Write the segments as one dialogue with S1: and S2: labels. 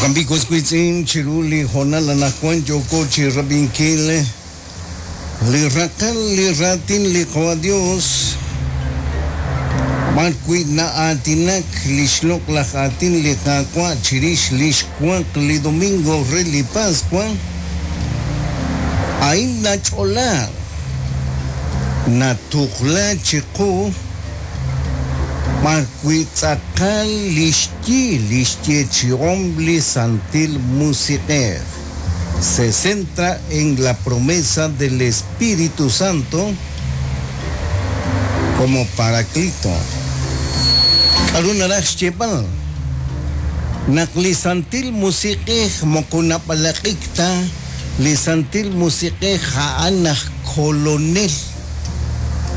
S1: Jo'kan b'i' was wiitz'in, chiru li hoonal anaqwan yooko chi rab'inkil li raqal li raatin li Qawa' Dios, b'ar wi' na'aatinak lix loq'laj aatin li Qaawa' chirix lix waq li domingo re li Paswa, a'in nach'ola, natuqla chiqu b'ar wi' tz'aqal lix yi lix yeechi'om li Santil Musiq'ej. Se centra en la promesa del Espíritu Santo como Paraclito. K'a'ru naraj xyeeb'al? Naq li Santil Musiq'ej moko nab'alaq'ik ta, li Santil Musiq'ej a'an aj Kolonel.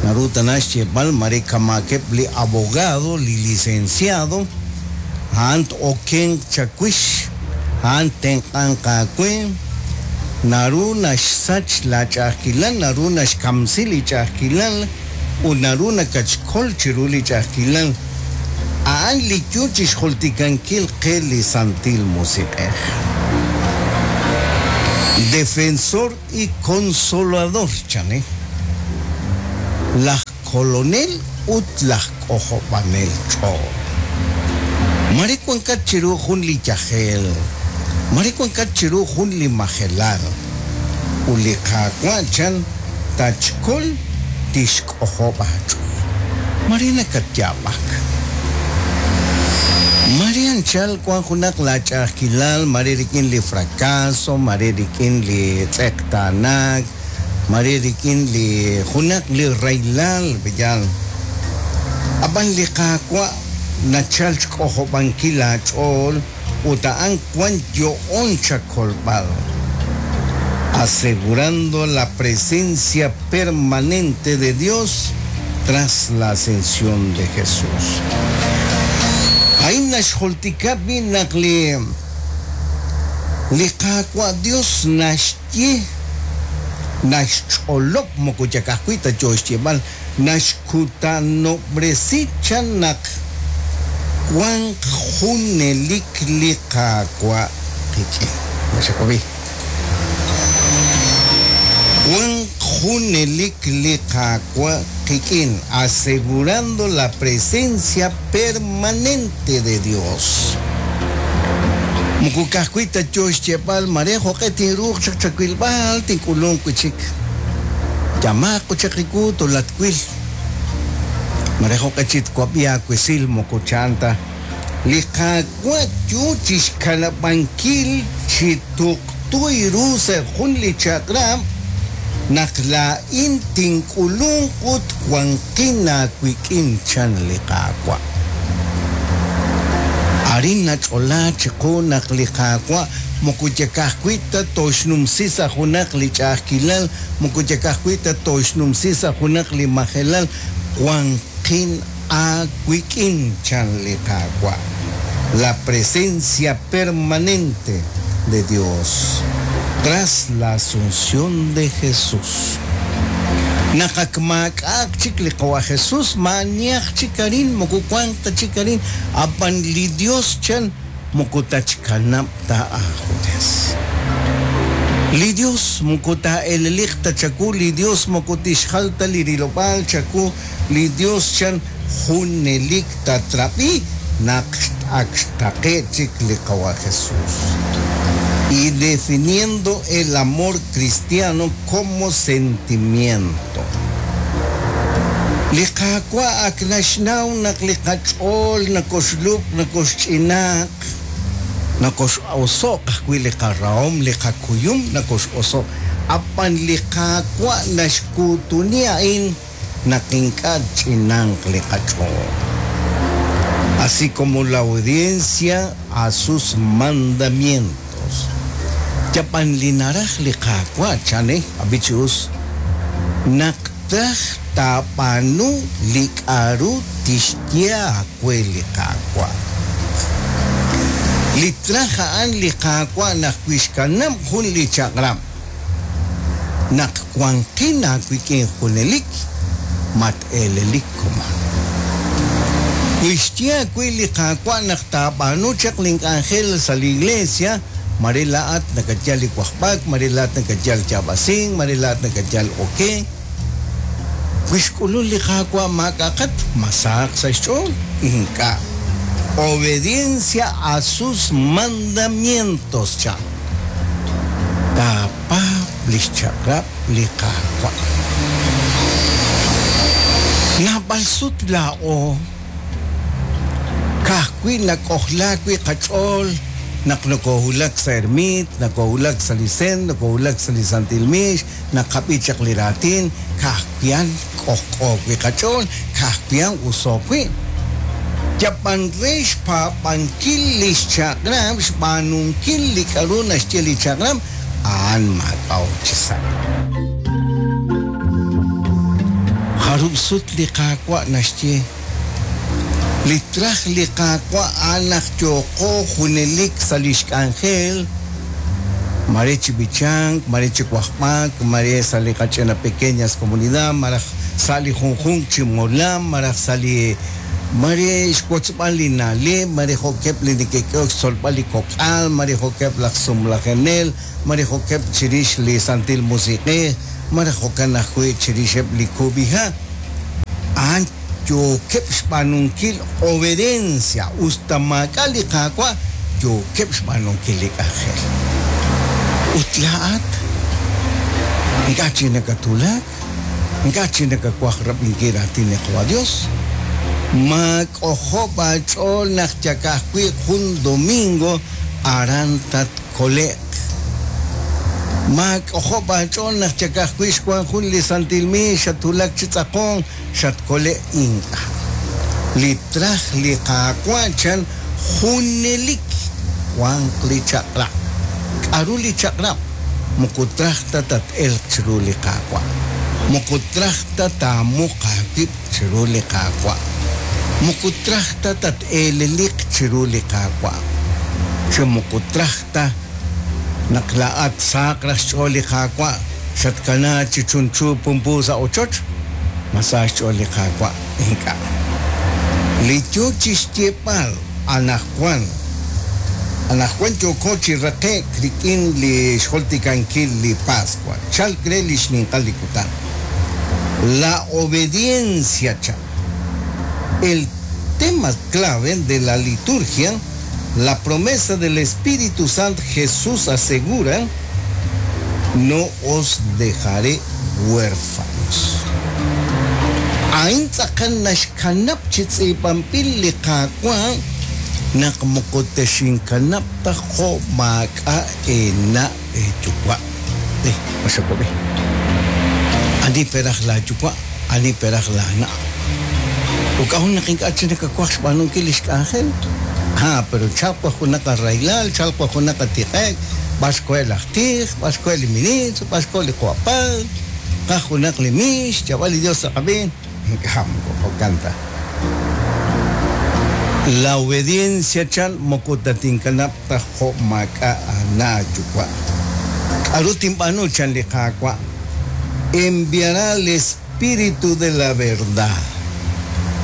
S1: Naru tana xyeeb'al mare kamaakeb' li abogado, li licenciado, a'an t-okenq chawix, a'an ttenq'anq aawe, naru naxsach laach'a'ajkilal, naru naxkamsi li ch'a'ajkilal ut naru nakatxkol chiru li ch'a'ajkilal. A'an li yo chi xjultikankil qe li Santil Musiq'ej. Defensor y Consolador, chan, laj Kolonel ut laj K'ojob'anel ch'ool. Mare wankat chiru jun li yajel, mare wankat chiru jun li majelal, ut li Qaawa', chan, tatxkol, tixk'ojob' aach'ool. Mare nakatyaab'ak. Mare anchal wan junaq laa ch'a'ajkilal, mare rik'in li fracaso, mare rik'in li tz'eqtaanaak, mare rik'in li junaq li rahilal, b'eyal. A'b'an li Qaawa' nachal xk'ojob'ankil aach'ool ut a'an wan yo'on chakolb'al, asegurando la presencia permanente de Dios tras la ascensión de Jesús. A'in naxjultika b'i' naq li li Qaawa' Dios naxye, naxch'olob' moko yal ka'ajwi' ta yoo xyeeb'al, Naxkutanob'resi chan naq wanq junelik li Qaawa' qik'in. Naxak'obi. Wanq junelik li Qaawa' qik'in, asegurando la presencia permanente de Dios. Moko ka'ajwi' ta yoo xyeeb'al mare jo'q'e tinruuq chaq chawilb'al, tink'ulunq wi' chik. Yamaaq ut chaq riwu tolatwil. Mare jo'q'e chi twab'i aawesil moko chan ta. Li Qaawa' yoo chixkanab'ankil chi tuqtu ru sa' jun li chaq'rab' naq laa'in tink'ulunq ut wanqin aawik'in, chan li Qaawa'. Arin nach'ola chiqu naq li Qaawa' moko yal ka'ajwi' ta tooxnumsi sa' junaq li ch'a'ajkilal, moko yal ka'ajwi' ta tooxnumsi sa' junaq li majelal, wanqin aawik'in, chan li Qaawa'. La presencia permanente de Dios tras la asunción de Jesús. Naq ak maak'a'aq chik li Qawa' Jesús, maa'anihaq chik arin, moko wanq ta chik arin, ab'an li Dios chan moko tatxkanab' ta aajunes. Li Dios moko taa'eleliq ta chawu, li Dios moko tixjal ta li rilob'aal chawu, li Dios chan junelik tatrab'i naq ak xtaqe' chik li Qawa' Jesús. Y definiendo el amor cristiano como sentimiento. Li Qaawa' ak naxnaw naq li qach'ool nokoxlub'k, nokoxch'inaaq, nokox'oso'q ajwi' li qarahom, li qakuyum nokox'oso'q. A'b'an li Qaawa' naxkuutuni a'in naq ink'a' tch'inanq li qach'ool. Así como la obediencia a sus mandamientos. Yab'an li naraj li Qaawa' chan eh, ab'i chi us, naq traj taab'aanu li k'a'ru tixye aawe li Qaawa'. Li traj a'an li Qaawa' naq wixkanab' jun li chaq'rab'. Naq wanqin aawik'in junelik, mat-eelelik komon. Wi xye aawe li Qaawa' naq taab'aanu chaq lin k'anjel sa' li iglesia, mare laa'at nakayal li wajb'ak, mare laa'at nakayal yaab'asink, mare laa'at nakayal okenk. Wi xk'ulun li Qaawa' maak'a'qat, ma sahaq sa' xch'ool? Ink'a'. Obediencia a sus mandamientos, chan. Taapaab' lix chaq'rab' li Qaawa'. Naab'al sut laa'o ka'ajwi' nak'ojlaak wi' qach'ool naq nokoohulak sa' ermiit, nokoohulak sa' li sen, nokoohulak sa' li santil miix, naqab'i chaq li raatin, ka'ajwi' a'an k'ojk'o wi' qach'ool, ka'ajwi' a'an uso wi'. Yab'an re xpaab'ankil li xchaq'rab', xb'aanunkil li k'a'ru naxye li chaq'rab', a'an maak'a'o chi sa'. Jarub' sut li Qaawa' naxye, Li traj li Qaawa' a'an naq yooqo junelik sa' lix k'anjel, mare chi b'ichank, mare chi wajb'ak, mare sa' li qach'ina pequeñas comunidad, malaj sa' li junjunq chi molam, malaj sa' li mare xwotzb'al li na'leb', mare jo'keb' li neke'k'ehok xtzolb'al li kok'al, mare jo'keb' laj sumlajenel, mare jo'keb' chirix li Santil Musiq'ej, malaj jo'kan ajwi' chirixeb' li kub'iha'. A'an yookeb' xb'aanunkil obediencia, us ta maak'a' li Qaawa', yookeb' xb'aanunkil li k'anjel. Ut laa'at ink'a' chik nakatwulak, ink'a' chik nakawaj rab'inkil raatin li Qawa' Dios. Maak'ojob' aach'ool naq yal ka'ajwi' jun domingo aran tatkole'q. Maak'ojob' aach'ool naq yal ka'ajwi' xwank jun li santil miix xatwulak chi tz'aqonk, xatkole' ink'a'. Li traj li Qaawa' chan junelik wanq li chaq'rab'. K'aru li chaq'rab'? Moko traj ta tat-elq chiru li Qaawa'. Moko traj ta taamuq aawib' chiru li Qaawa'. Moko traj ta tat-eeleliq chiru li Qaawa'. Chi moko traj ta naq laa'at sahaq raj xch'ool li Qaawa' xatkanaak chi chunchu pumpu sa' ochoch, ma sa xch'ool li Qaawa'? Ink'a'. Li yo chi xyeeb'al anaqwan, Anaqwan yooko chi raqe'k rik'in li xjultikankil li Paswa, chalk re li xninqal li kutan. La obediencia chan. El tema clave de la liturgia, la promesa del Espíritu Santo Jesús asegura, No os dejaré huérfanos. A'in tz'aqal naxkanab' chi tz'iib'anb'il li Qaawa' naq moko texinkanab' ta jo' maak'a' eena' eeyuwa'. Eh, ma xawab'i? Ani peraj laayuwa', ani peraj laana'? Ut k'a'ut naq ink'a' chik nakawaj xb'aanunkil li xk'anjel? Ah, pero chalq wa junaq arahilal, chalq wa junaq atiq'e'k, b'ar xkoheb' laj tij, b'ar xkoheb' li ministro, b'ar xkoheb' li qawa' Padre, qaj junaq li miix, xyaab'al li Dios sa' qab'een. Ink'a' moko jo'kan ta. La obediencia chan moko tatinkanab' ta jo' maak'a' aana' aayuwa'. K'aru tinb'aanu chan li Qaawa'? Enviará al Espíritu de la verdad.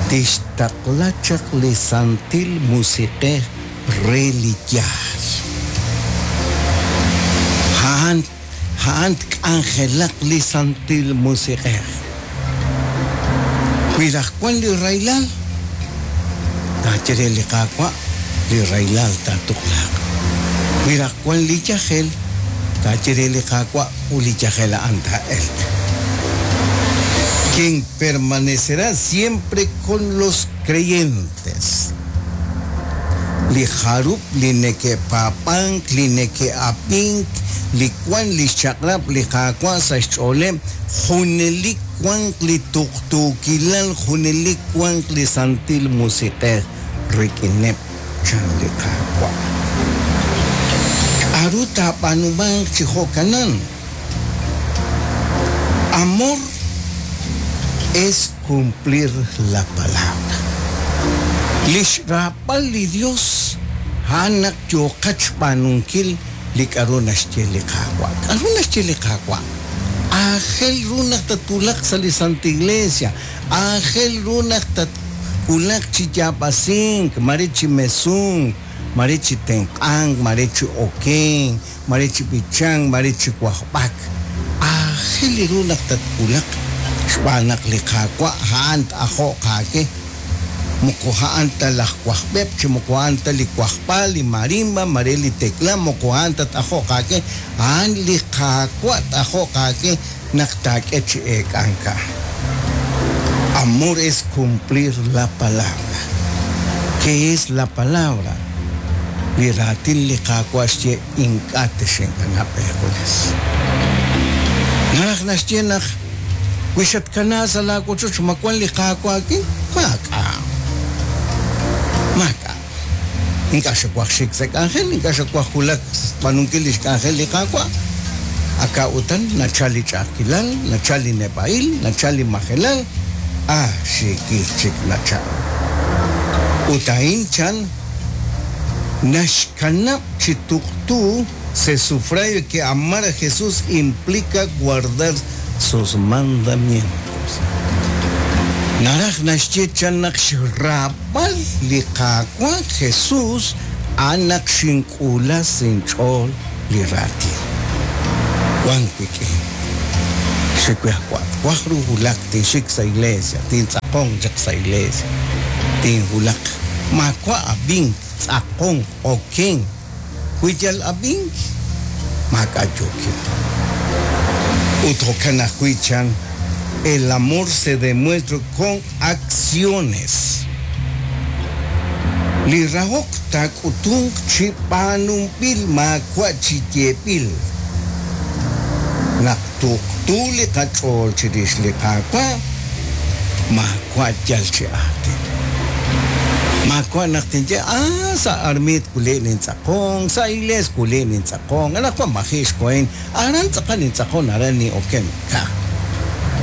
S1: Tixtaqla chaq li Santil Musiq'ej re li yaal. A'an a'an tk'anjelaq li Santil Musiq'ej. Wi raj wan li rahilal, taaye re li Qaawa' li rahilal taatuqlaaq. Wi raj wan li yajel, taaye re li Qaawa' ut li yajel a'an taa'elq. Quien permanecerá siempre con los creyentes. Li jarub' li neke'paab'ank, li neke'ab'ink, li wank li xchaq'rab' li Qaawa' sa' xch'ooleb', junelik wanq li tuqtuukilal, junelik wanq li Santil Musiq'ej rik'ineb', chan li Qaawa'. K'aru taab'aanumanq chi jo'kanan? Amor es cumplir la palabra. Li xraab'al li Dios a'an naq yooqat xb'aanunkil li k'a'ru naxye li Qaawa'. K'a'ru naxye li Qaawa'? Aajel ru naq tatwulaq sa' li Santa Iglesia. Aajel ru naq Wulak chi yaab'asink, mare chi mesunk, mare chi tenq'ank, mare chi okenk, mare chi b'ichank, mare chi wajb'ak. Aajel ru naq tatwulaq xb'aan naq li Qaawa' a'an t-ajo'q aawe. Moko a'an ta laj wajb'eb' chi moko a'an ta li wajb'al, li marimba, mare li tekla, moko a'an ta t-ajo'q aawe. A'an li Qaawa' t-ajo'q aawe naq taak'e chi eek'ank a'an. Amor es cumplir la palabra. ¿Qué es la palabra? Li raatin li Qaawa' xye ink'a' texinkanab' eejunes. Naraj naxye naq wi xatkanaak sa' laawochoch ma wank li Qaawa' aawik'in? Maak'a'. Maak'a'. Ink'a' xawaj xik sa' k'anjel, ink'a' xawaj wulak xb'aanunkil li xk'anjel li Qaawa'. Aka' utan nachalk li ch'a'ajkilal, nachalk li neb'a'il, nachalk li majelal, ah xiikil chik nachalk. Ut a'in chan naxkanab' chi tuqtu se sufragio que amar a Jesús implica guardar sus mandamientos. Naraj naxye chan naq xraab'al li Qaawa' Jesús a'an naq xink'uula sa' inch'ool li raatin. Wank wik'in. Xiwajwa' twaj ru wulak tinxik sa' iglesia, tintz'aqonq chaq sa' iglesia, tinwulaq. Maawa' ab'ink, tz'aqonk, okenk. Wi yal ab'ink, maak'a' yookin. Ut jo'kan ajwi' chan, El amor se demuestra con acciones. Li rahok taak'utunq chi b'aanunb'il maawa' chi yeeb'il. Naq tuqtu li qach'ool chirix li Qaawa', maawa' yal chi aatin. Maawa' naq tinye, Ah, sa' armiit wuli' nintz'aqonk, sa' iglees wuli' nintz'aqonk, anaqwan maji' xkohin, aran tz'aqal nintz'aqon, aran nin'oken. Ka.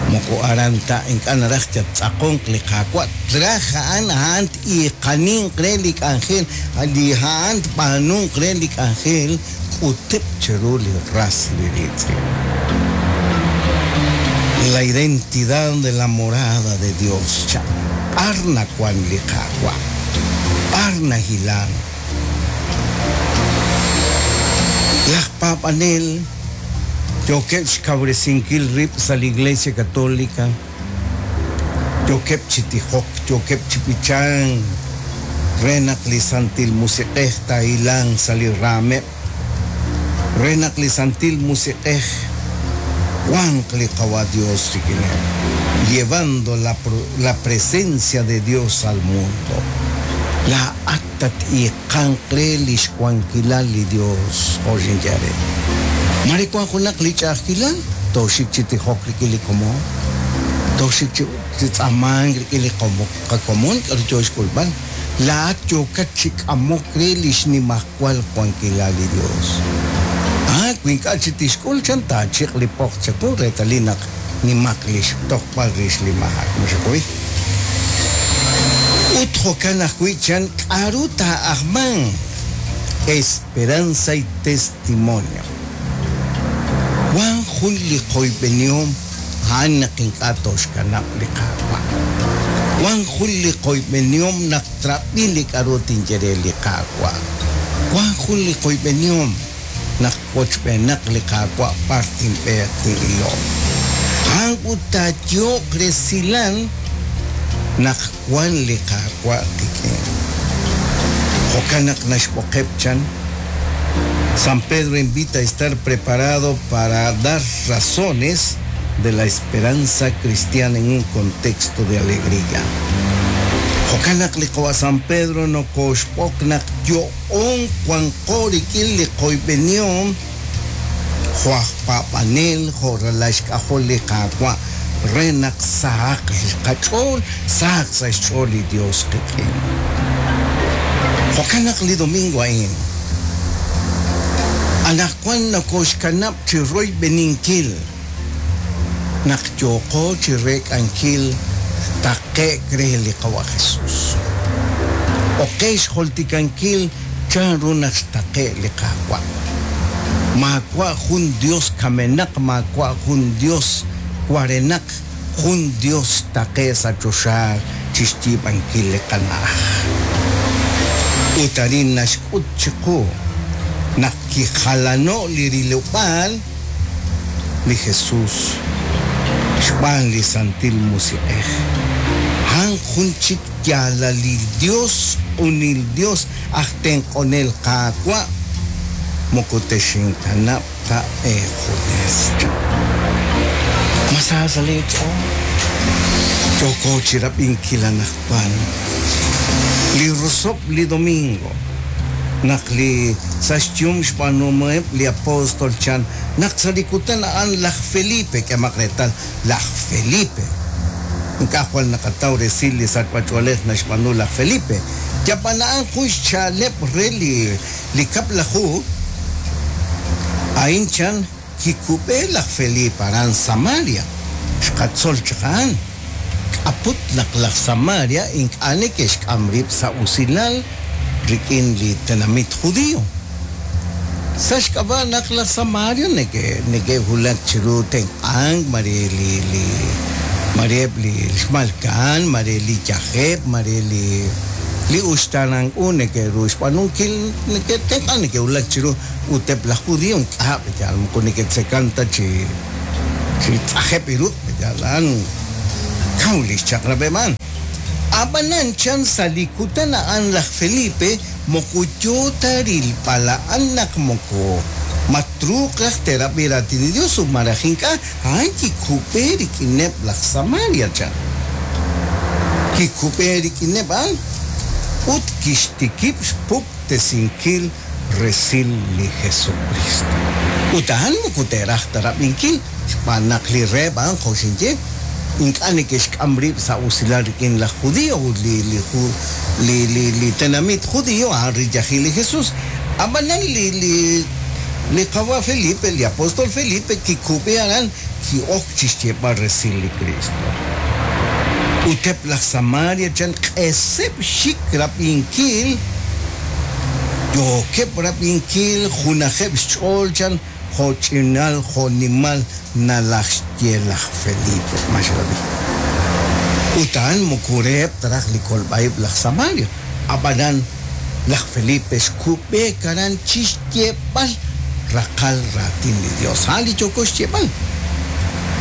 S1: Moko aran ta ink'a' naraj tattz'aqonq li Qaawa', traj a'an, a'an t-iiqaninq re li k'anjel, li a'an tb'aanunq re li k'anjel, k'uteb' chiru li ras li riitz'in. La identidad de la morada de Dios chan. B'ar nawank li Qaawa'? B'ar nahilank? Laj paab'anel yookeb' xkawresinkil rib' sa' li Iglesia Católica, yookeb' chi tijok, yookeb' chi b'ichank re naq li Santil Musiq'ej taahilanq sa' li raameb', re naq li Santil Musiq'ej wanq li Qawa' Dios rik'ineb', llevando la, la presencia de Dios al mundo. Laa'at tat-iiqanq re li xwankilal li Dios, jo' xinye re. Mare wank junaq li ch'a'ajkilal, tooxik chi tijok rik'in li komon, tooxik chi tz'aamank rik'in li qakomon k'aru yo xk'ulb'al. Laa'at yookat chi k'amok re li xnimajwal wankilal li Dios. Ah, wi ink'a' chi tixk'ul chan taachiq' li poq chawu reetalil naq nimaq li xtojb'al rix li maak. Ma xakuy? Ut jo'kan ajwi' chan k'aru taa'ajmanq? Esperanza y testimonio. Wank jun li qoyb'enihom a'an naq ink'a' tooxkanab' li Qaawa'. Wank jun li qoyb'enihom naq trab'i li k'aru tinye re li Qaawa'. Wank jun li qoyb'enihom naq wochb'eenaq li Qaawa' b'ar tinb'eeq tin'iloq. A'an ut taayo'q resilal naq wank li Qaawa' qik'in. Jo'kan naq naxb'oqeb' chan. San Pedro invita a estar preparado para dar razones de la esperanza cristiana en un contexto de alegría. Jo'kan naq li qawa' San Pedro nokooxb'oq naq yo'on wanqo rik'in li qoyb'enihom jo' aj paab'anel, jo' ralal xk'ajol li Qaawa', re naq sahaq li qach'ool, sahaq sa' xch'ool li Dios qik'in. Jo'kan naq li domingo a'in, anaqwan nokooxkanab' chi royb'eninkil naq yooqo chi reek'ankil taqe'k re li Qawa' Jesus. Oqe xjultikankil chanru naq xtaqe' li Qaawa'. Maawa' jun Dios kamenaq, maawa' jun Dios warenaq, jun Dios xtaqe' sa' choxa. chixyiib'ankil li qana'aj. Ut arin naxk'ut chiqu naq kijalano' li rilob'aal li Jesus xb'aan li Santil Musiq'ej. A'an jun chik yaalalil Dios, q'unil Dios, aj tenq'onel Qaawa', moko texinkanab' ta eejunes, chan. Ma sa sa' lee ch'ool? Yooko chirab'inkil anaqwan li rosob' li domingo, naq li sa' xyum xb'aanuhomeb' li apóstol chan naq sa' li kutan a'an laj Felipe, k'emaq reetal, laj Felipe. Ink'a' jwal naqataw resil li sachb'ach'oolej naxb'aanu laj Felipe. Yab'an a'an jun xcha'aleb' re li li Kab'laju, a'in chan kikub'e laj Felipe aran Samaria. Xqatzol chaq a'an. K'aput naq laj Samaria ink'a' neke'xk'am rib' sa' usilal rik'in li tenamit Judio. Sa' xk'ab'a' naq laj Samaria neke'wulak chiru tenq'ank, mare li li mare eb' li xmalka'an, mare li yajeb', mare li li uxtaanank u neke'ru xb'aanunkil, neke'tenq'ank, neke'wulak chiru. Ut eb' laj Judio ink'a' yal moko neke'tzekan ta chi chi tz'ajeb' li ruq', yal a'an kaw li xchaq'rab'eb' a'an. Ab'anan chan sa' li kutan a'an laj Felipe moko yoo ta rilb'al a'an naq moko ma truuq raj te'rab'i raatin li Dios ut malaj ink'a', a'an kikub'e rik'ineb' laj Samaria, chan. Kikub'e rik'ineb' a'an ut kixtikib' xpuktesinkil resil li Jesukristo. Ut a'an moko te'raj ta rab'inkil, xb'aan naq li reheb' a'an, jo' xinye, ink'a' neke'xk'am rib' sa' usilal rik'in laj Judio ut li, li, li, li, li tenamit Judio a'an riyajil li Jesus. A'b'anan li, li, li Qawa' Felipe, li apostol Felipe, kikub'e aran, ki'ok chixyeeb'al resil li Kristo. Ut eb' laj Samaria chan q'eseb' xik rab'inkil, yookeb' rab'inkil, junajeb' xch'ool chan jo' ch'inal jo' nimal nalajxye laj Felipe. Ma xrab'i? Ut a'an moko reheb' ta raj li kolb'a-ib' laj Samaria. Ab'anan laj Felipe xkub'eek aran chi xyeeb'al raqal raatin li Yos. A'an li yooko xyeeb'al.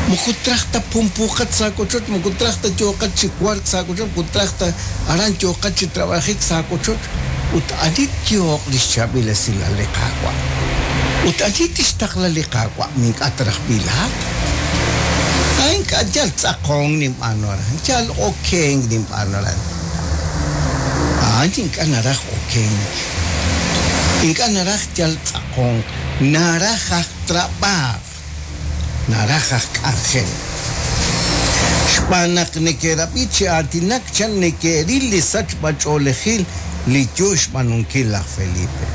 S1: Moko traj ta pumpuuqat sa' aawochoch, moko traj ta yooqat chi wark sa' aawochoch, moko traj ta aran yooqat chi trab'ajik sa' aawochoch. Ut ani tyooq li xchaab'il esilal li Qaawa'? Ut ani tixtaqla li Qaawa'? Ma ink'a' ta raj b'i laa'at? A Ink'a' yal tz'aqonk ninb'aanu aran, yal okenk ninb'aanu aran. A'an ink'a' naraj okenk, ink'a' naraj yal tz'aqonk, naraj aj trab'aaj, naraj aj k'anjel. Xb'aan naq neke'rab'i chi aatinak chan neke'ril li sachb'a-ch'oolejil li yoo xb'aanunkil laj Felipe.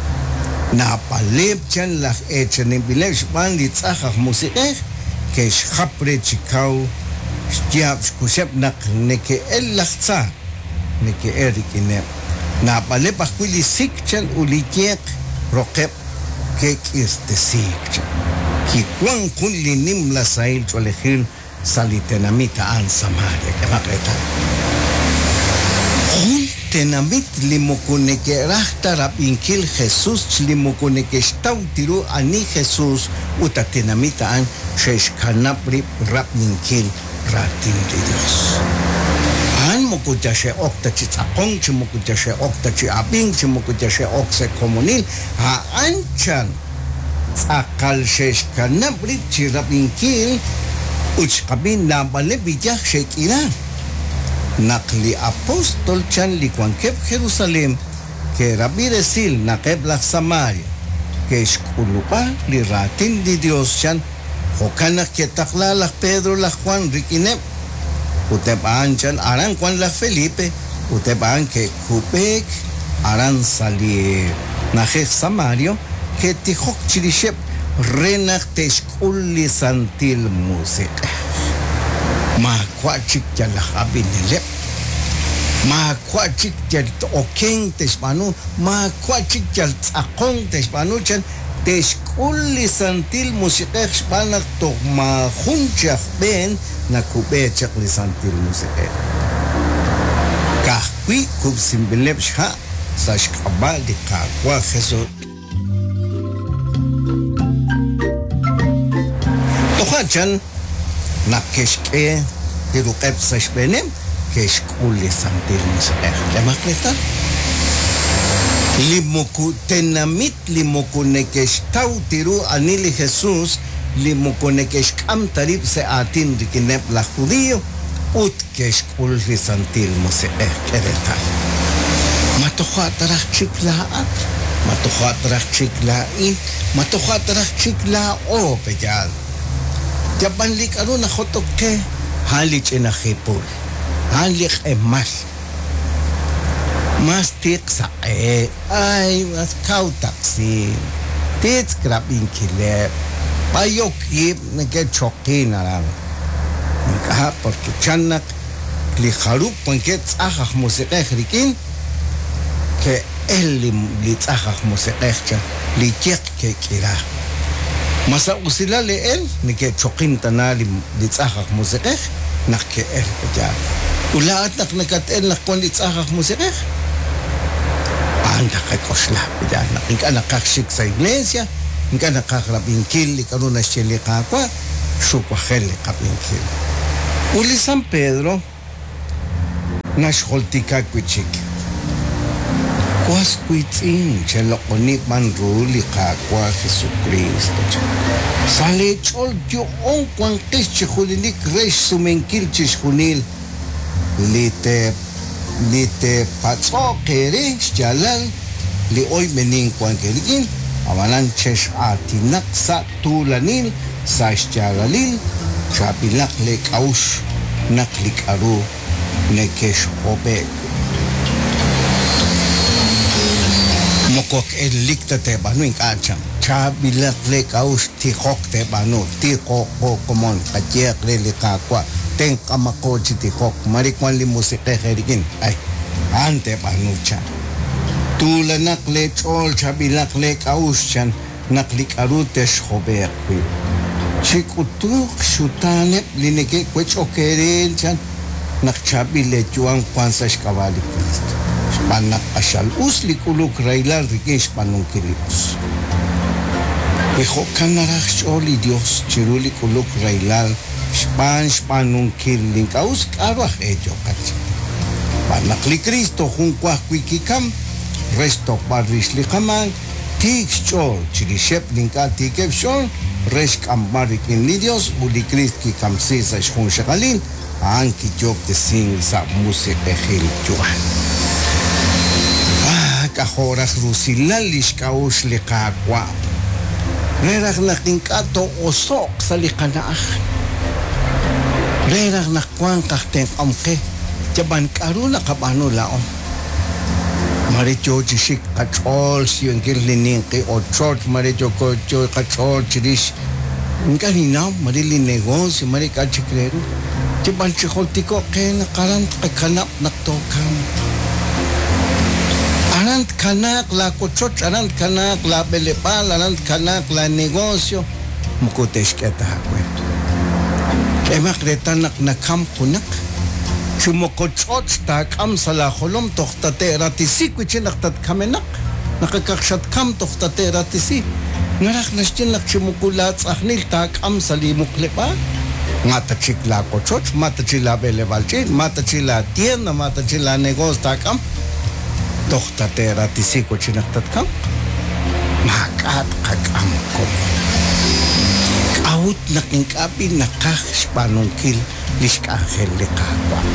S1: Naab'aleb' chan laj eechaninb'ileb' xb'aan li tz'aj aj musiq'ej ke'xjap re chi kaw xyaab' xkuxeb' naq neke'el laj tza, neke'el rik'ineb'. Naab'aleb' ajwi' li sik chan ut li yeq roqeb' ke'k'irtesiik chan. Kiwan jun li nimla sahil ch'oolejil sa' li tenamit a'an Samaria. K'emaq reetal. Jun tenamit li moko neke'raj ta rab'inkil Jesus li moko neke'xtaw ta ru ani Jesus ut a tenamit a'an xe'xkanab' rib' rab'inkil raatin li Dios. A'an moko yal xe'ok ta chi tz'aqonk, chi moko yal xe'ok ta chi ab'ink, chi moko yal xe'ok sa' komonil, a'an chan tz'aqal xe'xkanab' rib' chi rab'inkil ut xqab'i naab'aleb' iyaj xe'k'ira. Naq li apóstol chan li wankeb' Jerusalén ke'rab'i resil naq eb' laj Samaria ke'xk'ulub'a li raatin li Yos chan, jo'kan naq ke'taqla laj Pedro laj Juan rik'ineb', ut eb' a'an chan aran wank laj Felipe, ut eb' a'an ke'kub'eek aran sa' li na'ajej Samario, ke'tijok chirixeb' re naq te'xk'ul li Santil Musiq'ej. Maawa' chik yal aj ab'ineleb', maawa' chik yal okenk te'xb'aanu, maawa' chik yal tz'aqonk te'xb'aanu, chan te'xk'ul li Santil Musiq'ej xb'aan naq toj maajun chi aj b'een nakub'e chaq li Santil Musiq'ej. wi kub'sinb'ileb' xha' sa' xk'ab'a' li Qaawa' Jesus. Toja' chan naq ke'xk'e li ruq'eb' sa' xb'eeneb', ke'xk'ul li Santil Musiq'ej. K'ehomaq reetal, li moko tenamit li moko neke'xtaw ta ru ani li Jesus, li moko neke'xk'am ta rib' sa' aatin rik'ineb' laj Judio, ut ke'xk'ul li Santil Musiq'ej. K'e reetal. Ma toja' ta raj chik laa'at? Ma toja' ta raj chik laa'in? Ma toja' ta raj chik laa'o? Pe'yaal? Yab'an li k'a'ru najot'ok qe, a'an li ch'ina jipul, a'an li q'emal. Mas tiq saq'e, ay, mas kaw taqsi, titz'k rab'inkileb', b'ayok ib' neke'choqin aran. Ink'a', porque chan naq li jarub' wankeb' tz'aj aj musiq'ej rik'in, ke'el li tz'aj aj musiq'ej chan, li yeq ke'k'ira. Ma sa' usilal e'el neke'choqin tana li tz'aj aj musiq'ej naq ke'el pe'yaal? Ut laa'at naq nakat-el naq wan li tz'aj aj musiq'ej? A'an taqak'oxla pe'yaal naq ink'a' naqaj xik sa' iglesia, ink'a' naqaj rab'inkil li k'a'ru naxye li Qaawa', xuwajel li qab'inkil. Ut li San Pedro naxjultika wi' chik, Was wiitz'in, cheloq'oni b'an ru li Qaawa' Jesukriist, chan. Sa' leech'ool yo'oon wanqex chi junelik re xsumenkil chixjunil li li teepatz'o'q eere xyaalal li oyb'enink wank eerik'in, ab'anan chex'aatinaq sa' tuulanil sa' xyaalalil, chaab'ilaq lee k'a'uxl naq li k'a'ru nekexhob'e'k wi'. Moko elik ta teeb'aanu ink'a' chan. Chaab'ilaq lee k'a'uxl tijok teeb'aanu, tijoqo komon, qayehaq re li Qaawa', tenq'amaqo chi tijok, mare wan li Musiq'ej eerik'in, ay, a'an teeb'aanu chan. Tuulanaq lee ch'ool, chaab'ilaq lee k'a'uxl chan. Naq li k'a'ru texhob'e'q wi'. Chik'utuq xxutaaneb' li neke'wech'ok eere, chan, naq chaab'il leeyu'am wank sa' xk'ab'a' li Kriist, xb'aan naq q'axal us li k'uluk rahilal rik'in xb'aanunkil li us. Wi jo'kan naraj xch'ool li Yos chiru li k'uluk rahilal xb'aan xb'aanunkil li ink'a' us, k'a'ru aj e yooqat? Xb'aan naq li Kristo jun wa ajwi' kikam re xtojb'al rix li qamaak, Tiik xch'ool chirixeb' li ink'a' tiikeb' xch'ool re xk'amb'al rik'in li Yos ut li Kriist kikamsiik sa' xjunxaqalil, a'an kiyoob'tesink sa' musiq'ejil yu'am. Ah, k'ajo' raj rusilal li xk'a'uxl li Qaawa' re raj naq ink'a' too'oso'q sa' li qana'aj, re raj naq wanq aj tenq'om qe, yab'an k'aru naqab'aanu laa'o? Mare yoo chi xik qach'ool xyiib'ankil li ninqi ochoch, mare yooko yoo qach'ool chirix ink'a' ninnaw, mare li negocio, mare k'a' chik re ru. Yab'an chi jultiko'q qe naq aran tqakanab' naq tookamq. Aran tkanaaq laawochoch, aran tkanaaq laab'eleb'aal, aran tkanaaq laanegocio, moko te'xk'e ta aawe. K'ehomaq reetal naq nakamk junaq. Chi moko ch'och' taak'am sa' laajolom toj tate'ratisi wi' chik naq tatkamenaq, naq akaq xatkam toj tate'ratisi. Naraj naxye naq chi moko laatz'ajnil taak'am sa' li muqleb'aal, ma ta chik laawochoch, ma ta chik laab'eleb'aal ch'iich', ma ta chik laatienda, ma ta chik laanegoos taak'am, toj tate'ratisi wi' chik naq tatkamq. Maak'a' tqak'am komon. K'a'ut naq ink'a' b'i' naqaj xb'aanunkil li xk'anjel li Qaawa'.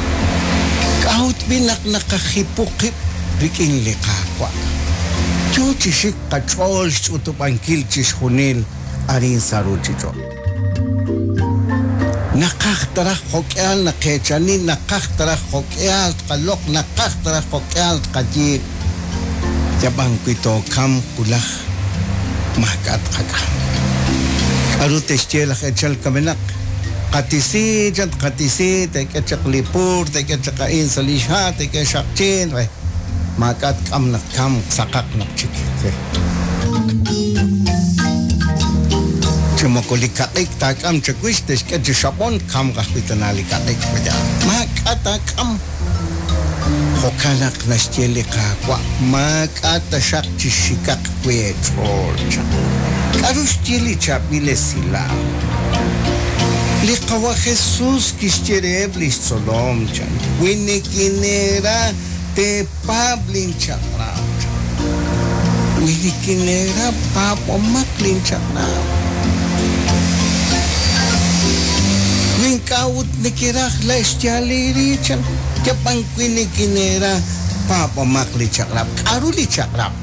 S1: K'a'ut b'i' naq naqajipu qib' rik'in li Qaawa'? Yoo chi xik qach'ool xch'utub'ankil chixjunil arin sa' ruuchich'och'. Naqaj ta raj jo'k'ihal naqeechani, naqaj ta raj jo'k'ihal tqaloq', naqaj ta raj jo'k'ihal tqayiib'. Yab'an wi tookamq wulaj, maak'a' tqak'am. K'aru te'xye laj echal kamenaq? Qatisi, chan, tqatisi, teek'e chaq li pur, teek'e chaq a'in sa' li xha', teek'e xaqchiin, re maak'a' tk'am naq tkamq, saqaq naq chik. Chi moko li kaq'ik taak'am chawix, te'xk'e chi xab'on, tkamq ajwi' tana li kaq'ik. Maak'a' taak'am. Jo'kan naq naxye li Qaawa', Maak'a' taxaq chixxikaq wi' eech'ool, chan. K'aru xye li chaab'il esilal? Li Qawa' Jesús kixye reheb' li xtzolom, chan, Wi nikineera, teepaab' linchaq'rab', chan. Wi nikineera, paab'omaq linchaq'rab'. Wi ink'a' ut nekeraj xyaal eere, chan, yab'an wi nikineera, paab'omaq li chaq'rab'. K'aru li chaq'rab'?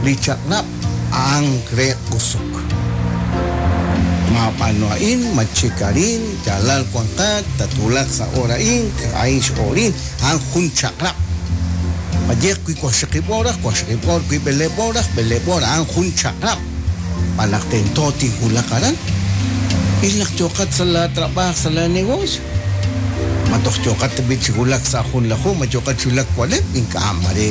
S1: Li chaq'rab' a'an re q'usuk. Maab'aanu a'in, matxik arin, yaalal wanqat, tatwulaq sa' hoor a'in, a'in x'ooril, a'an jun chaq'rab'. Qayehaq wi waqxaqib' hooraj, waqxaqib' hoor, wi b'eleeb' hooraj, b'eleeb' hoor, a'an jun chaq'rab'. Xb'aan naq tento tinwulaq aran. Il naq yooqat sa' laatrab'aaj, sa' laanegoosio. Ma toj yooqat tab'i' chi wulak sa' junlaju, ma yooqat chi wulak wa'leb'? Ink'a', mare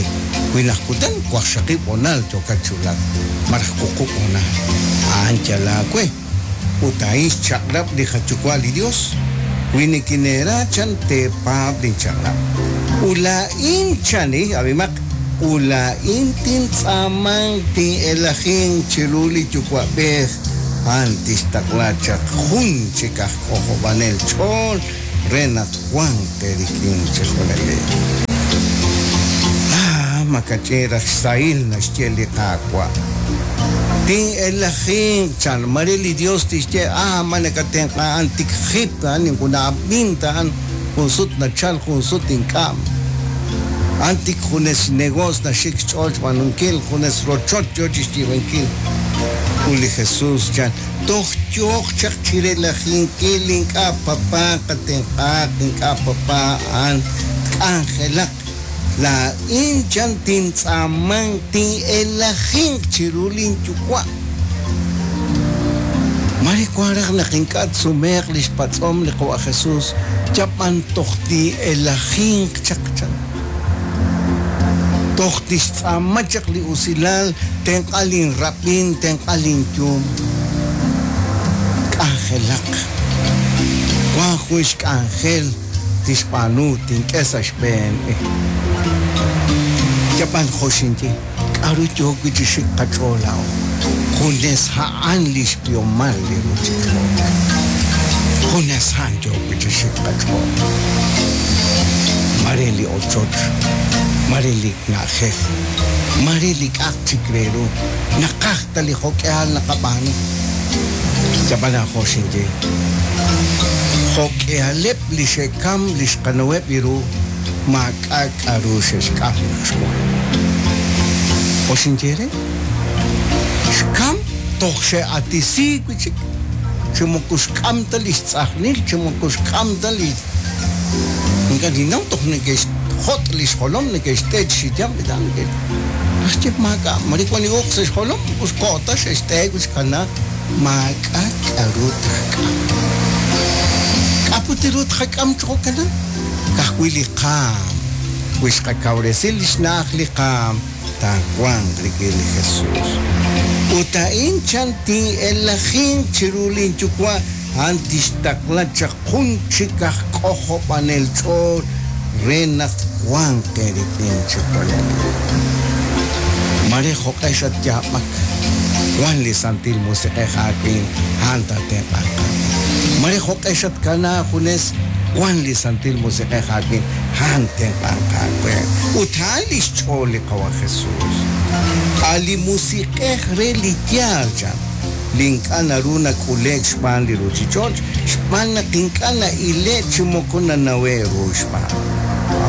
S1: wi naq kutan waqxaqib' hoonal yookat chi wulak, malaj wuqub' hoonal. A'an yal aawe. Ut a'in xchaq'rab' li qaYuwa' li Yos, Wi nikineera, chan, teepaab' linchaq'rab'. Ut laa'in, chan, ab'imaq, ut laa'in tintz'aamanq tin'elajinq chiru li Yuwa'b'ej, a'an tixtaqla chaq jun chik aj k'ojob'anel ch'ool re naq wanq eerik'in chi junelik. Ah, makach'in raj xsahil naxye li Qaawa'. Tin'elajinq, chan. Mare li Dios tixye, Ah, ma nakatenq'a a'an tik jip a'an, ninquna'ab'in ta a'an, jun sut nachal, jun sut ink'a'. A'an tik junes xnegoos naxik xch'ool xb'aanunkil, junes rochoch yo chixyiib'ankil. Ut li Jesús, chan, Toj yooq chaq chi relajinkil ink'a' papá qatenq'aaq, ink'a' papá a'an tk'anjelaq. Laa'in chan tintz'aamanq tin'elajinq chiru linyuwa'. Mare wank raj naq ink'a' tsumeeq li xpatz'om li Qawa' Jesús, yab'an toj tin'elajinq chaq, chan. Toj tixtz'aama chaq li usilal, tenq'a linrab'in, tenq'a linyum. K'anjelaq. Wank jun xk'anjel tixb'aanu, tink'e sa' xb'een. Yab'an jo' xinye, k'aru yook wi' chi xik qach'ool laa'o? Junes a'an li xb'ihomal li ruuchich'och'. Junes a'an yook wi' chi xik qach'ool. Mare li ochoch, mare li na'ajej, mare li k'a'aq chik re ru, naqaj ta li jo'k'ihal naqab'aanu. Yab'an jo' xinye, jo'k'ihaleb' li xe'kam li xqanaweb' ru maak'a' k'a'ru xe'xk'am naq xwan. Jo' xinye re, xkam toj xe'atisiik wi' chik, chi moko xk'am ta li xtz'ajnil, chi moko xk'am ta li ink'a' ninnaw toj neke'xjot' li xjolom, neke'xt'e chi xiyab' li neke' naxye maak'a' mare wan li uq' sa' xjolom, moko xko' ta xe'xt'e wi' xkana maak'a' k'a'ru taak'am. K'a' put ru tqak'am chi jo'kanan? Ka'ajwi' li qaanm. Wi xqakawresi li xna'aj li qaanm, taawanq rik'in li Jesús. Ut a'in chan tin'elajinq chiru lin Yuwa', a'an tixtaqla chaq jun chik aj k'ojob'anel ch'ool re naq twanq eerik'in chi junelik. Mare jo'q'e xatyaab'ak, wan li Santil Musiq'ej aawik'in, a'an taatenq'anq aawe. Mare jo'q'e xatkana junes, wan li Santil Musiq'ej aawik'in, a'an tenq'anq aawe. Ut a'an li xch'ool li Qawa' Jesús. A' li Musiq'ej re li yaal, chan, li ink'a' naru nak'ule'k xb'aan li ruuchich'och', xb'aan naq ink'a' na'ile'k chi moko nanawe'k ru xb'aan.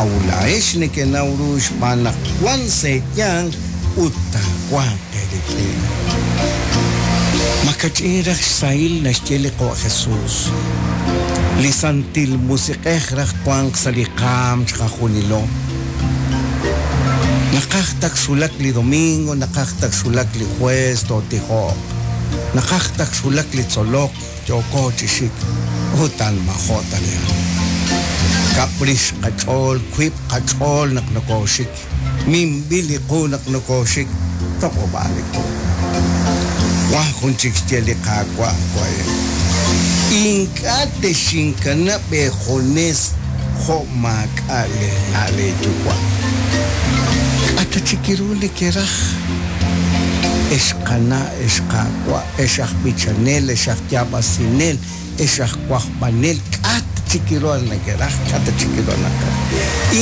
S1: A'ut laa'ex nekenaw ru xb'aan naq wank sa' eeyanq ut taawanq eerik'in. Makach'in raj xsahil naxye li Qawa' Jesús. Li Santil Musiq'ej raj wanq sa' li qaanm chiqajunilo. Naqaj tak xwulak li domingo, naqaj tak xwulak li jueves tootijoq. Naqaj tak xwulak li tzolok, yooko chi xik, utan majo' ta li hab'. Kab' rix qach'ool, wiib' qach'ool naq nokooxik, minb'il li qu naq nokooxik, toq'ob'aal li qu. Wank jun chik xye li Qaawa' wa'in, Ink'a' texinkanab' eejunes. jo' maak'a' leena' leeyuwa'. K'a' ta chik ru nekeraj, ex qana', ex qaawa', ex aj b'ichanel, ex aj yaab'asinel, ex aj wajb'anel, k'a' ta chik ru nekeraj, k'a' ta chik ru naqaj.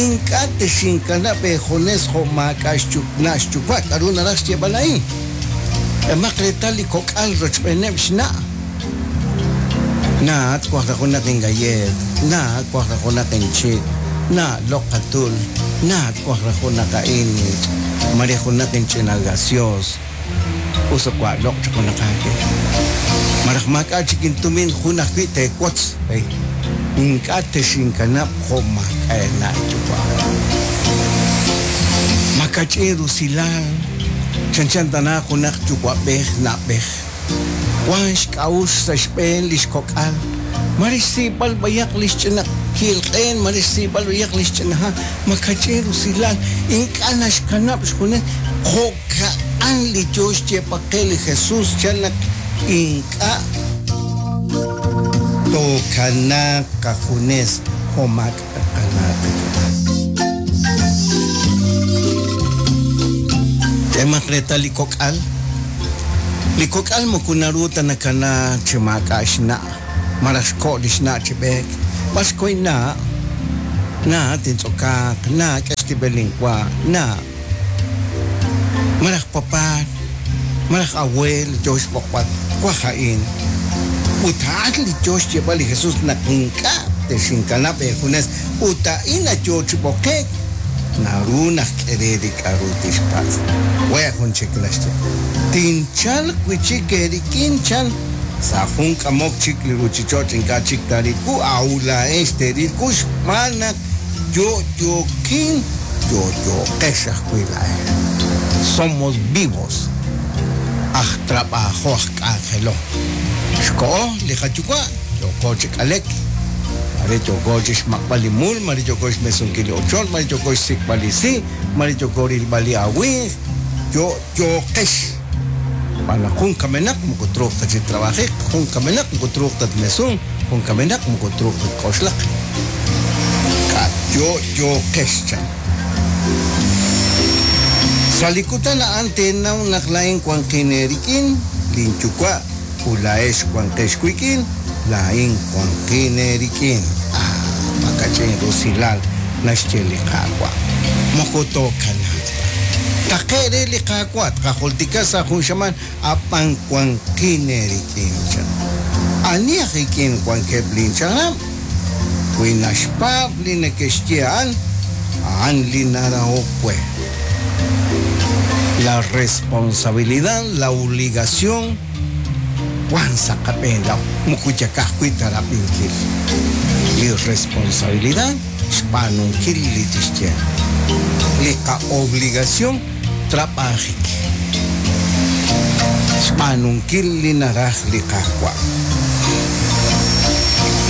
S1: Ink'a' texinkanab' eejunes jo' maak'a' xna' xyuwa', k'aru naraj xyeeb'al a'in? K'emaq reetal li kok'al rochb'eeneb' xna'. Na, twaj raj junaq ingalleet, na, twaj raj junaq inchik, na, loq' qatul, na, twaj raj junaq a'in, mare junaq inch'ina gaseoos, us wa' loq' chaq junaq aawe. Malaj maak'a' chik intumin jun ajwi' teewotz, hey, ink'a' texinkanab' jo' maak'a' eena' eeyuwa'. Makach'in rusilal, chanchan tana junaq yuwa'b'ej na'b'ej. Wank xk'a'uxl sa' xb'een li xkok'al, mare xsiib'al b'ayaq li xch'ina ki'ilq'een, mare xsiib'al b'ayaq li xch'ina ha', makach'in rusilal, ink'a' naxkanab' xjunes, jo'ka'an li yo xyeeb'al qe li Jesús chan naq ink'a' tookanaaq qajunes jo' maak'a' qana' qayuwa'. K'emaq reetal li kok'al. Li kok'al moko naru ta nakana chi maak'a' xna' malaj xko' li xna' chi b'eek. B'ar xko inna'? Na, tintz'okaaq. Na, k'e xtib'el linwa. Na. Malaj papá, malaj aweel yo xb'oqb'al, twaj a'in. Ut a'an li yo xyeeb'al li Jesús naq ink'a' texinkanab' eejunes ut a'in yo chi b'oqe'k, naru naq k'e re li k'a'ru tixpatz'. We' jun chik naxye, Tinchalq wi' chik eerik'in, chan, sa' jun k'amok chik li ruuchich'och' ink'a' chik taaril wu, a'ut laa'ex teeril wu xb'aan naq yo'yookin, yo'yooqex ajwi' laa'ex. Somos vivos, aj trab'ajo aj k'anjelo. Xkoho li qayuwa', yooko chi k'alek. Mare yooko chi xmaq'b'al li mul, mare yooko xmesunkil li ochoch, mare yooko xsik'b'al li si', mare yooko rilb'al li awimq, yo'yooqex. Xb'aan naq jun kamenaq moko truuq ta chi trab'ajik, jun kamenaq moko truuq ta tmesunq, jun kamenaq moko truuq ta tk'oxlaq. K'a' yo'yooqex chan. Sa' li kutan a'an teenaw naq laa'in wanqin eerik'in, linYuwa' Ut laa'ex wanqex wik'in, laa'in wanqin eerik'in. Ah, makach'in rusilal naxye li Qaawa'. Moko tookanaaq ta. Taqe' re li Qaawa', tqajultika sa' jun xamaan, a'b'an wanqin eerik'in, chan. Ani aj ik'in wankeb' linchaq'rab'? Wi naxpaab' li neke'xye a'an, a'an li narahok we. La responsabilidad, la obligación wan sa' qab'een laa'o, moko yal ka'ajwi' ta rab'inkil. Li responsabilidad xb'aanunkil li tixye. Li qa'obligación trab'ajik. Xb'aanunkil li naraj li Qaawa'.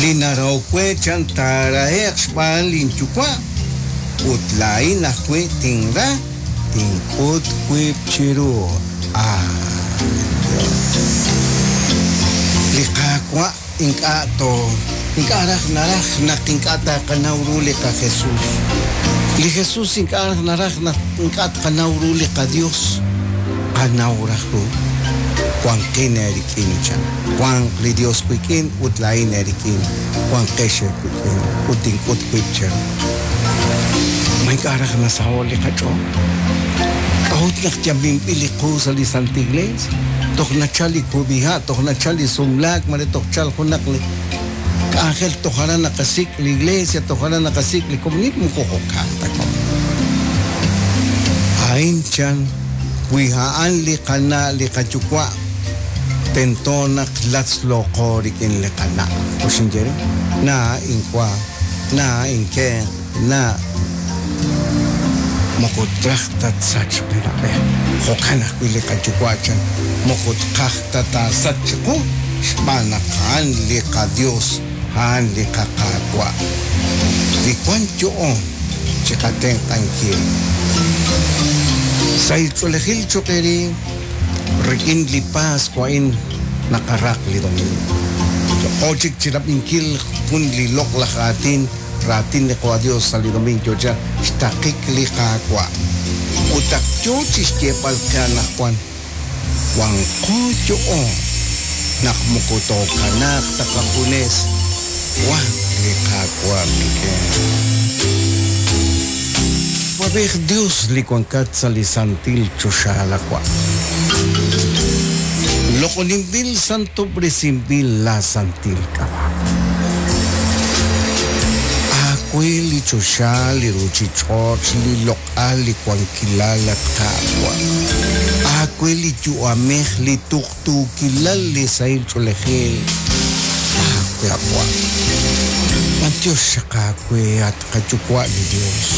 S1: Li narahok we chan taarahe'q xb'aan lin Yuwa', ut laa'in ajwi' tinra, tink'ut wib' chiru. Ah, Li Qaawa' ink'a' to ink'a' raj naraj naq ink'a' taqanaw ru li qaJesus. Li Jesus ink'a' raj naraj naq ink'a' tqanaw ru li qaDios. Qanaw raj ru. Wanqin eerik'in, chan. Wanq li Dios wik'in ut laa'in eerik'in. Wanqex eewik'in ut tink'ut wib' cheru. Ma ink'a' raj nasaho' li qach'ool? K'a'ut naq yaminb'il li qu sa' li Santil Iglees? Toj nachal li kub'iha', toj nachal li sumlaak, mare toj chal junaq li k'anjel, toj aran naqasik' li iglesia, toj aran naqasik' li komonil, moko jo'kan ta komon. A'in chan, wi a'an li qana' li qayuwa', tento naq latzlooqo rik'in li qana'. Oxinye re, Na inwa, na inkenq, na moko traj ta tsachq li na'b'ej. Jo'kan ajwi' li qayuwa' chan, moko tqaj ta taasachq chiqu xb'aan naq a'an li qaDios, a'an li qaQaawa'. Li wank yo'oon chiqatenq'ankil. Sahil ch'oolejil cho'q eere rik'in li Paswa a'in naqaraq li domingo. Yo'qo chik chi rab'inkil jun li loq'laj aatin. Raatin li Qawa' Dios sa' li domingo yocha xtaqik li Qaawa'. Ut ak yo chi xyeeb'al qe anaqwan, wanqo yo'oon naq moko tookanaaq ta qajunes, wank li Qaawa' qik'in. Yuwa'b'ej Dios li wankat sa' li santil choxa lawa'. Loq'oninb'il santob'resinb'il laa santil k'ab'a'. Aawe li choxa, li ruchich'och', li loq'al, li wankilal, at Qaawa'. Aawe li yu'amej, li tuqtuukilal, li sahil ch'oolejil. Aawe, a Wa'. B'antiox xaq aawe, at qaYuwa' li Dios.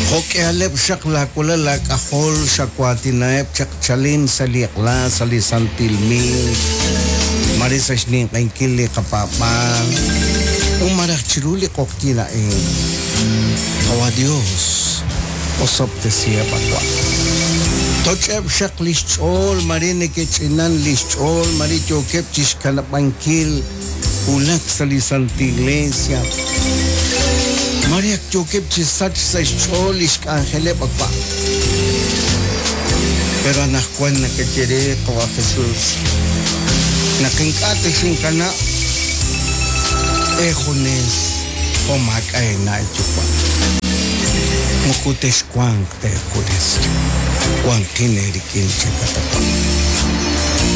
S1: Jo' k'ihaleb' xaq laawalal laak'ajol xawaatinaheb' chaq chalen sa' li eq'la sa' li santil miis, mare sa' xninq'ehinkil li qapaab'aal, ut malaj chiru li q'oqyink a'in. Qawa' Dios, osob'tesiheb' a Wa'. Toch'eb' xaq li xch'ool, mare neke'ch'inan li xch'ool, mare yookeb' chixkanab'ankil wulak sa' li Santil Iglesia. Mare ak yookeb' chi sachk sa' xch'ool lix k'anjeleb' a Wa'. Pero anaqwan nakaye re, Qawa' Jesus, naq ink'a' texinkanab' eejunes jo' maak'a' eena' eeyuwa'. Moko texwanq ta eejunes. Wanqin eerik'in, chankat a Wa'.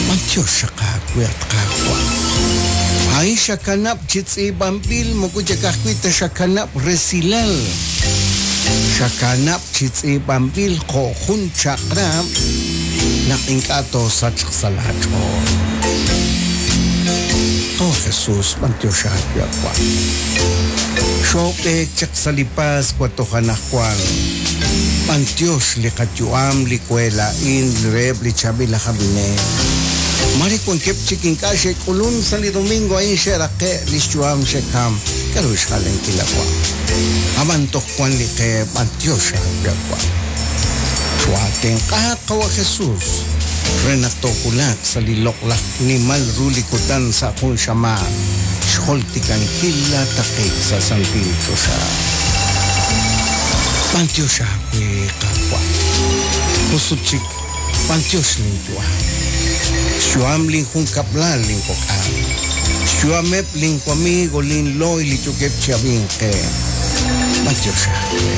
S1: B'antiox xaq aawe, at Qaawa'. A'in xakanab' chi tz'iib'anb'il moko yal ka'ajwi' ta xakanab' resilal, xakanab' chi tz'iib'anb'il jo' jun chaq'rab' naq ink'a' toosachq sa' laach'ool. Oh Jesus, b'antiox aawe, at Wa'. Xoob'eek chaq sa' li Paswa toj anaqwan. B'antiox li qayu'am, li we laa'in, reheb' li chaab'il aj ab'inel. Maare wankeb' chik ink'a' xe'k'ulun sa' li domingo a'in xe'raqe' lix yu'am xe'kam. K'a'ru xjalenkil a Wa'? A'b'an toj wan li qe b'antiox aawe a Wa'. Choo'aatenq'a Qawa' Jesus re naq toowulaq sa' li loq'laj nimal ru li kutan sa' jun xamaan xjoltikankil laa taqik sa' santil choxa. B'antiox aawe Qaawa'. Jun sut chik B'antiox lin yu'am. Xyu'am lin junkab'lal lin kok'al. Xyu'ameb' lin wamigo, lin loy li yookeb' chi ab'ink qe. B'antiox aawe.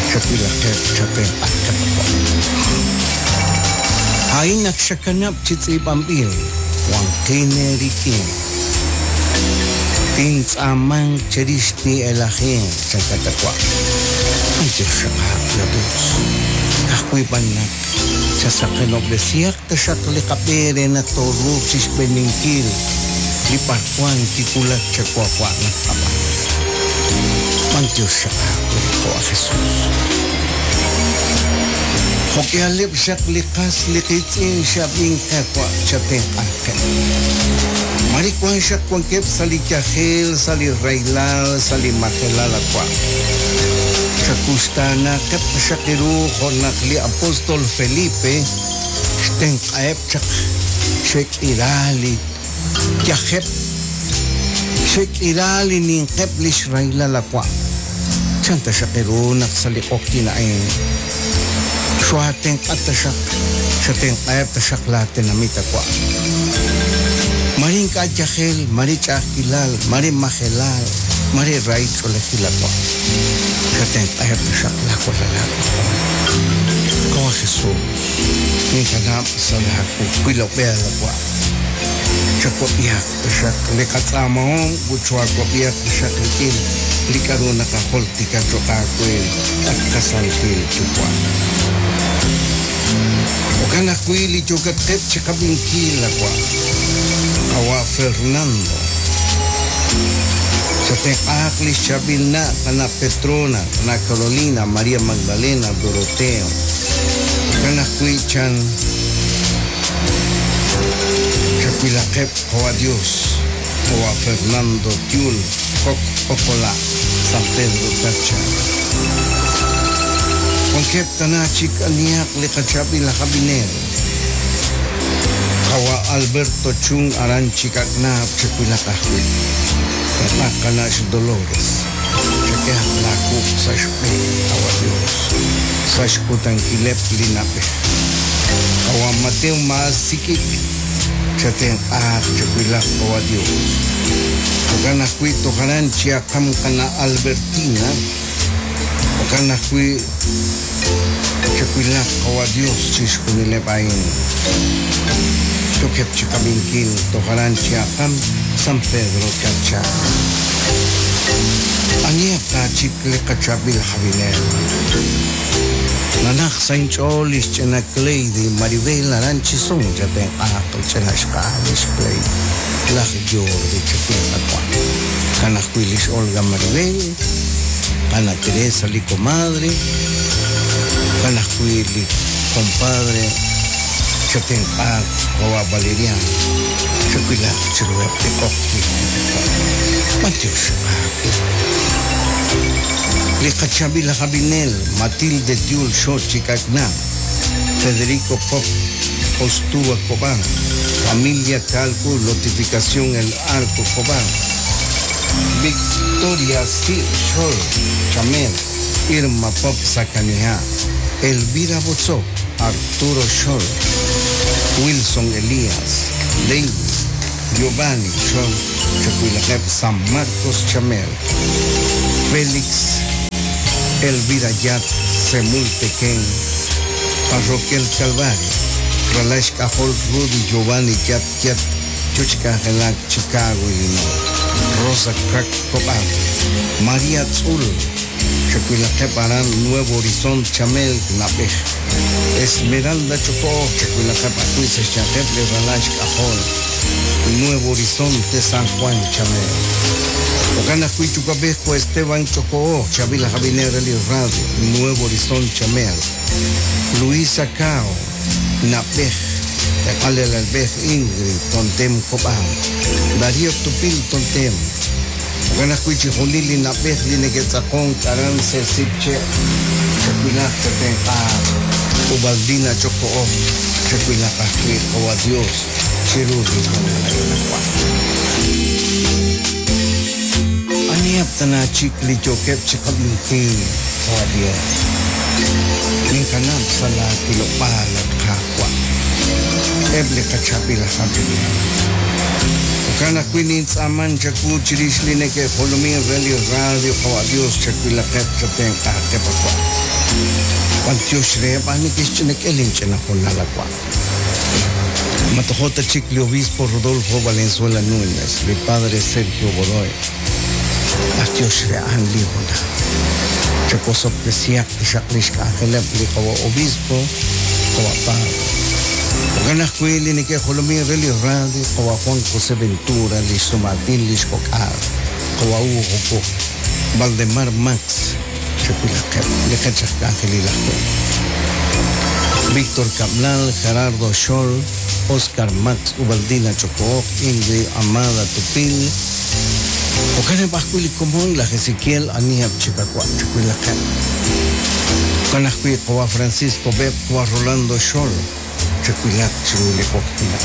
S1: Chawilaqeb', chatenq'aqeb' wa'. A'in ak xakanab' chi tz'iib'anb'il, wanqin eerik'in. Tintz'aamanq cherix tin'elajinq, chankat a wa'. B'antiox xaq aawe, Dios. Ka'ajwi' b'an naq chasaqenob'resihaq taxaq li qab'e re naq tooruuq chixb'eeninkil li b'arwan kiwulak chawawa' naq qab'aanu. B'antiox xaq aawe, jo' a Jesus. Jo'k'ihaleb' xaq li qas li qiitz'in xe'ab'ink qe, wa', chatenq'aqeb'. Mare wank xaq wankeb' sa' li yajel, sa' li rahilal, sa' li majelal, a wa'. Chakuxtaanaqeb' taxaq eeru jo' naq li apóstol Felipe xtenq'aheb' chaq xe'k'ira li yajeb', xe'k'ira li ninqeb' li xrahilal a wa'. Chan taxaq eeru naq sa' li q'oqyink a'in xoohaatenq'a taxaq, xatenq'aheb' taxaq laatenamit a wa'. Mare ink'a' yajel, mare ch'a'ajkilal, mare majelal, mare rahil ch'oolejil a wa'. Xatenq'aheb' taxaq laawalal aak'ajol. Qawa' Jesús, ninkanab' sa' laawilob'eel a wa'. Chawab'ihaq taxaq li qatz'aamahom ut choohaawab'ihaq taxaq rik'in li k'a'ru naqajultika cho'q aawe, at qaSantil Yuwa'. Jo'kan ajwi' li yookatqeb' chiqab'inkil, a wa', Qawa' Fernando. Chatenq'ahaq li xchaab'il na' qana' Petrona, qana' Carolina, María Magdalena, Doroteo. Jo'kan ajwi' chan Chawilaqeb' Qawa' Dios, Qawa' Fernando Tiul, Kok Okola', San Pedro Tacha. Wankeb' tana chik anihaq li qachaab'il aj ab'inel. Qawa' Alberto Chun aran Chikak'naab' chawilaq ajwi'. Tenq'a qana' xDolores, chak'ehaq laawuq' sa' xb'een, Qawa' Dios, sa' xkutankileb' li na'b'ej. Qawa' Mateo maasik'ik, chatenq'aaq chawilaq, Qawa' Dios. Jo'kan ajwi' toj aran chi'aqam qana' Albertina, jo'kan ajwi' chawilaq, Qawa' Dios, chixjunileb' a'in. Yookeb' chiqab'inkil toj aran chi'aqam San Pedro Carchá. Aniheb' taachik li qachaab'il jabinel? Nanaq sa' inch'ool li xch'ina Cleidy Maribel aran Chisón chatenq'aaq li ch'ina xqa'al lix Cleidy laj Jordi chawil qawa'. Jo'kan ajwi' lix Olga Maribel, Ana Teresa li comadre, jo'kan ajwi' li compadre chatenq'aaq qawa' Valeriano chawilaq chiruheb' li q'oqyink. B'antiox Qaawa'. Li qachaab'il aj ab'inel Matilde Diul Xochicacna, Federico Pop Ostuba Cobán, Familia Calcu Notificación El Arco Cobán, Victoria C. Xol Chamel, Irma Pop Sacanija, Elvira Botzó, Arturo Xol, Wilson Elías, David, Giovanni Xol, Chacuilacep San Marcos Chamel, Félix Elvira Yat Semultequén, Parroquia El Calvario, Ralash Cajol Rudy Giovanni Yat Yat Chuchcajelac Chicago, Illinois, Rosa Crack Cobán, María Tzul, Chacuilacep Arán Nuevo Horizonte Chamel Nabej, Esmeralda Chocó, Chacuilacep Acuiza Chacep Ralash Cajol, Nuevo Horizonte San Juan Chamel. Ocana Cuichucabejo Esteban Chocó, Chavila Javier Eli Radio, Nuevo Horizonte Chamel, Luisa Cao, Napej, Tekalel Albej Ingrid, Tontem Cobán, Darío Tupil Tontem, Ocana Cuichijunili Napej Linequetzacón, Carance Sipche, Chacuilaj Chatenja, Ubaldina Chocó, Chacuilaj Oa Dios, Chirurgi Aniap tana chikli chokep chikabinki, Oa Dios. Ninkanap sa la kilopala kakwa. Eble kachapila habili. Okana kwinin tsaman chaku chirishli neke jolomin reli radio kawa Dios chakuila kep chaten kakepakwa. Pantios reba nikis chinek elin chena jonalakwa. Matojota Chicli Obispo Rodolfo Valenzuela Núñez, mi padre Sergio Godoy. Atios rean lijona. Chacosop de Siak, Shaklish Kajeleb, Lijawa Obispo, Kawa Padre. Oganah Cuili, Nike Jolomi, Reli Radio, Kawa Juan José Ventura, Listo Martín, Lish Kokar, Kawa Hugo, Valdemar Max, Chacuilaqep, Lejachak Ángel Víctor Cablal, Gerardo Scholl, Oscar Max, Ubaldina Chocó, Ingrid Amada Tupil, Okane Bajuili Común, la Ezequiel Aniab Chicacua, Chacuilaqep. Kanajui Kawa Francisco Beb, Kawa Rolando Scholl, Chacuilac Chiruli Coctina.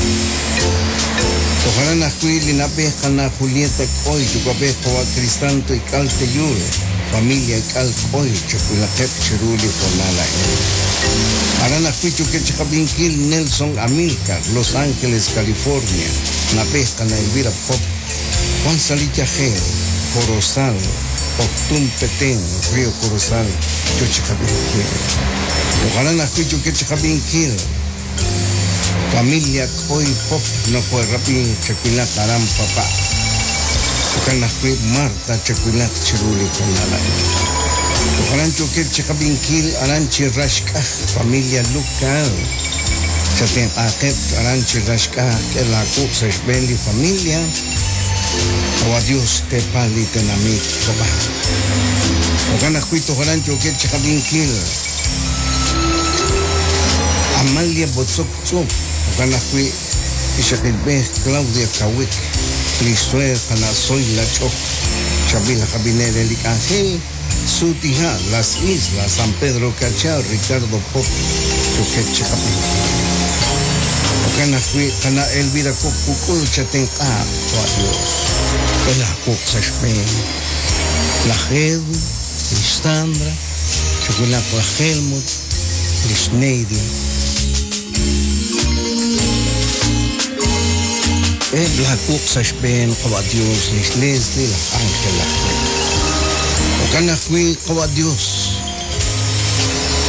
S1: Ojalá Najuili Napeja Julieta Coy, Chucape Kawa Cristanto y Calte Yure, familia Cal Coy, Chacuilaqep Chiruli Jonala. Arana Juicho Quechacabinquil, Nelson Amilcar, Los Ángeles, California, Napeja Elvira Pop, Juan Salita G, Corozal, Octum Petén, Río Corozal, Chochacabinquil. Ojalá Najuicho Quechacabinquil, familia Coy Pop, no puede rapin, Chacuilac Aram Papá. Ojalá Marta Chacuilac Chiruli Conala. Ojalá Choquel Chacabinquil, Aranchi Rashka, familia Lucal. Chaten Akep, Aranchi Rashka, que la Cuxa Benli familia. O a Dios te pali tenamit, papá. Ojalá Juito Ojalá Choquel Chacabinquil. Amalia Botzok Tzuk, Ojalá Jui Ishakilbej, Claudia Kawik, Lisuer, Soy La Choc, Chavila Jabiner, Elic Ángel, Sutija, Las Islas, San Pedro Cachao, Ricardo Pop, Choquet Chacabinquil. Jo'kan ajwi' qana' Elvira Coc Kuk'ul chatenq'a, Qawa' Dios. K'e laawuq' sa' xb'een laj Edwin, lix Sandra, chawilaq laj Helmut, lix Neidia. K'eheb' laawuq' sa' xb'een, Qawa' Dios, lix Leslie, laj Ángel, laj Fred. Jo'kan ajwi', Qawa' Dios,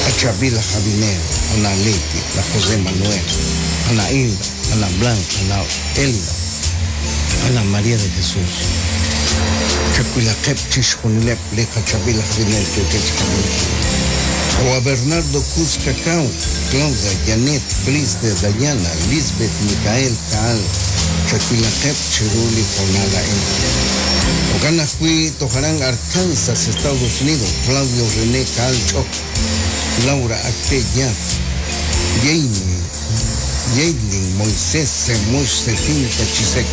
S1: qachaab'il laj Abinel, qana' Leti, laj José Manuel, qana' Hilda, qana' Blanca, qana' Elda, qana' María de Jesús. Chawilaqeb' chixjunileb' li qachaab'il aj Abinel yookeb' chi qab'inkil. Qawa' Bernardo Cruz Cacao, Claudia, Janet, Cris de Dayana, Lisbeth, Micael, Caal, chawilaqeb' chiru li hoonal a'in. Jo'kan ajwi' toj aran Arkansas, Estados Unidos, Claudio René Caal Ch'ok, Laura Acté Yap, Jamie, Yailin, Moisés, Semush, Setinta, Chisek,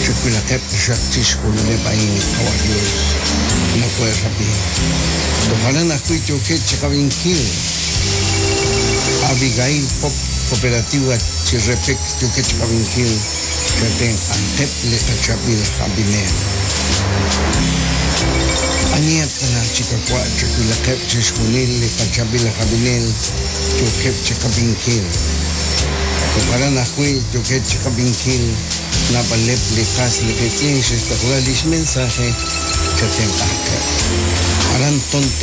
S1: chawilaqeb' taxaq chixjunileb' a'in, Qawa' Dios, nakohe'rab'i. Toj aran ajwi' yookeb' chi qab'inkil, Abigail Pop, Cooperativa Chirrepek yookeb' chi qab'inkil, chatenq'anqeb' li qachaab'il aj ab'inel. Aniheb' tana chi qawa' chawilaqeb' chixjunil li qachaab'il aj ab'inel yookeb' chi qab'inkil. Toj aran ajwi' yookeb' chi qab'inkil naab'aleb' li qas li qiitz'in xe'xtaqla lix mensaje chatenq'anqeb'. Aran Tonte.